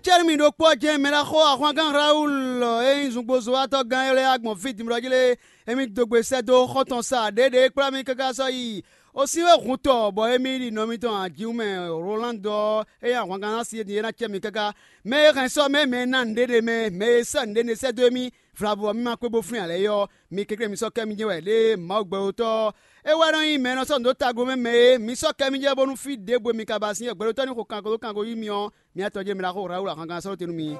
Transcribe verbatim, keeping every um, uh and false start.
Cɛ́nú mì ɖokpó ɔ́ jɛ́n mɛ ná xo ahwangán Rawulu e nyí zungbozowatɔ́ gán élɔ́ gbɔn fí din bɔ jí lé, émí dó gbe sɛ́ dó xɔ́ntɔn sa ɖěɖě e kplá mì káká sɔ́ yi. O sín wɛ hun tɔ bɔ émí ɖi nɔ mitɔn ajiwun mɛ Rolando ɔ́, é nyí ahwangán ná sin é din é ná cɛ mi káká. Mɛ e hɛn sɔ́ mɛ mɛ e ná nǔɖé ɖe mɛ, mɛ e sɛ́ nǔɖé ɖe sɛ́ dó émí, vlavo ɔ́, mì ma kpé bó flín ǎ lɛ́ɛ é ɔ́, mi kɛnklɛ́n mi sɔ́ kɛ mi jɛ́n wɛ lě e Mawu gbɛɖótɔ́ ɔ́, é wɛ nɔ nyí mɛ e nɔ sɔ́ nǔ dó tagun mɛ mɛ é. Mi sɔ́ kɛ mi jɛ́n bónú fí ɖěbǔ e mi ka ba sín é gbɛɖótɔ́ ní xo kanko dó kanko yí mi ɔ́, mi atɔjɛ́ mi ná xo Rawulu ahwangán sɔ́ ɖó te nú mi.